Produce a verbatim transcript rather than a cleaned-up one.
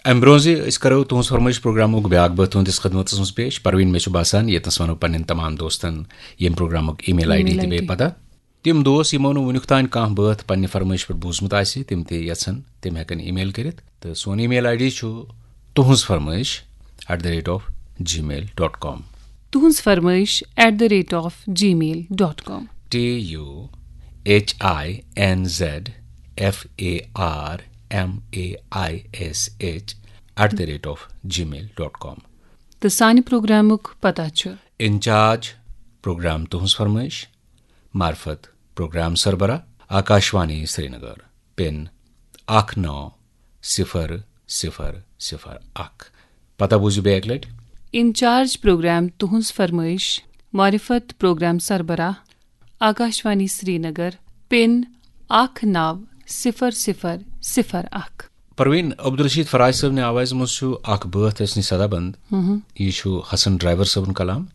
امہِ برونٛہہ زِ أسۍ کرو تُہنٛز فرمٲیش پروگرامُک بیاکھ بٲتھ تُہنٛدِس خدمتس منٛز پیش، پروین، مےٚ چھُ باسان ییٚتنس ونو پننٮ۪ن تمام دوستن ییٚمہِ پروگرامُک email ID تہِ بیٚیہِ پتہ۔ تِم دوست یِمو نہٕ وُنیُک تام کانٛہہ بٲتھ پننہِ فرمٲیش پٮ۪ٹھ بوٗزمُت آسہِ، تِم تہِ یژھن، تِم ہٮ۪کن email کٔرِتھ۔ تہٕ سون email ID چھُ تُہنٛز فرمٲیش at the rate of gmail dot com۔ تُہنٛز فرمٲیش at the rate of gmail dot com۔ T U H I N Z F A R M A I S H at the rate of gmail dot com۔ تہٕ سانہِ پروگرامُک پتہ چھُ incharge programme تُہنٛز فرمٲیش، معرفت programme سربراہ، آکاشوانی سرینگر، پن اکھ نو صفر صفر صفر اکھ۔ پتہ بوٗزِو بیٚیہِ اکہِ لٹہِ۔ انچارج پروگرام تُہنٛز فرمٲیش، معرفت پروگرام سربراہ، آکاشوانی سرینگر، پن اکھ نو صفر صفر صفر اکھ۔ پروین، عبدالرشید فراج صٲبنہِ آوازِ منٛز چھُ اکھ بٲتھ اَسہِ نِش صدا بند۔ یہِ چھُ حسن ڈرائیور صٲبُن کلام۔